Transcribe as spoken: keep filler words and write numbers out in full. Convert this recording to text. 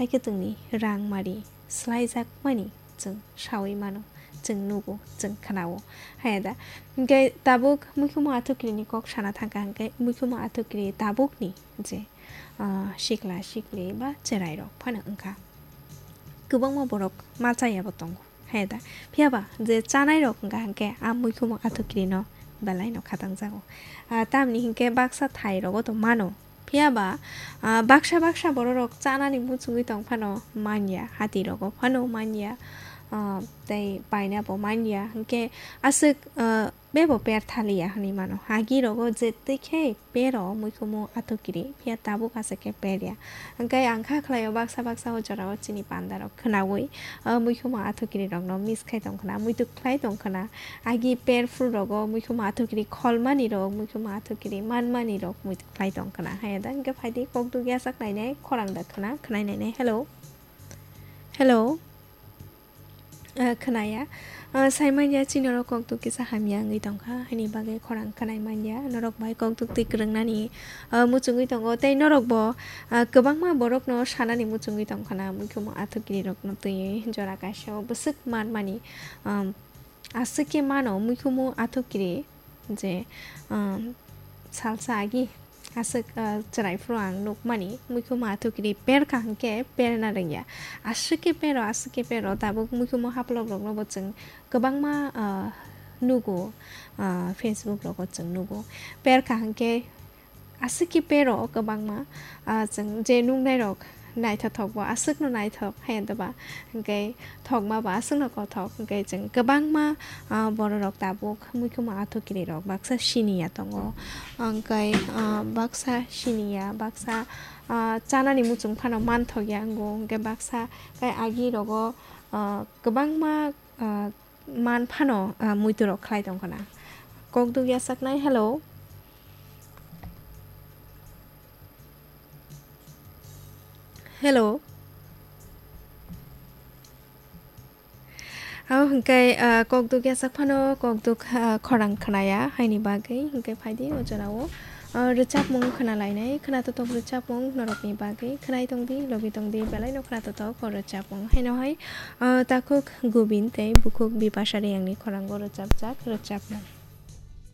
Hai khe chwngni rang mari swlaijakmani chwng saui mano, chwng nugo, chwng khnao. Haya da? Hinkhe tabuk muikhumu athukirini kok sana thangkha hinkhe muikhumu athukiri tabukni je, ah, sikla sikli ba cherairok phano wngkha. Kwbangma borok ma chayabo tongo. Haya da? Phiyaba je chanairok wngkha hinkhe a muikhumu athukirino belaino khatangjago. Ah, tamni hinkhe baksa thairogo to mano. Phiyaba, ah, baksa baksa bororok chanani muchungwi tong phano manya, hatirogo phano manya, ah, tei painabo manya. Hinkhe aswk, ah, bebo per thaliya hwnwi mano. Agirogo jettwi khe pero muikhumu athukiri, phiya tabuk aswk khe perya. Hinkhe ang kha khlaio baksa baksa o jorao chini pandarok khnaui, ah, muikhumu athukirirokno miss khai tong khna, muituk khlai tong khna. Agi per phuru rogo muikhumu athukiri kholmani rok, muikhumu athukiri manmani rok muituk khlai tong khna. Haya da? Hinkhe phaidi kok dugya sak nainai, khorang da khna, khnai nainai. Hello? Hello? Ah, khnaya. Ah, sai manya chini rok kok duk kisa hamya wngwi tong kha, haini bagwi khorang khnai manya. Norok bai kok duk twi kwrwngnani, ah, muchungwi tongo. Tei norok bo, ah, kwbangma borokno sanani muchungwi tong khna, muikhumu athukiri rokno twiwi jora kaisa o bwswk manmani, um, aswk khe mano muikhumu athukiri je, um, salsa agi aswk, uh, chwrai phuru ang nukmani muikhumu athukiri per kaham khe perna rwngya. Aswk khe pero, aswk khe pero, tabuk muikhumu haplok rokno bo chwng kwbangma, uh, nugo, uh, Facebook rogo chwng nugo. Per kaham khe aswk khe pero kwbangma, ah, chwng je nuknairok naithothok bo aswkno naithok, haiya doba? Hinkhe thokma bo aswkno kothok, hinkhe chwng kwbangma, ah, bororok tabuk muikhumu athukirirok baksa siniya tongo, hinkhe, ah, baksa siniya, baksa, ah, chanani muchung phano manthokya wngo, hinkhe baksa tei agirogo, ah, kwbangma, ah, man phano, ah, muiturok khlai tong khna. Kok duk yasaknai, hello. Hello. Abo hinkhe, ah, kok duk yasak phano kok duk, ah, khorang khnaya, haini bagwi hinkhe phaidi o jorao. Ah, rwchapmung khna lainai, khna totok rwchapmung norokni bagwi khnai tongdi, logi tongdi, belaino khna totok o rwchapmung. Haino hai, ah, takhuk Gubin tei bukhuk Bipasha Reyangni khorango rwchapjak rwchapmung.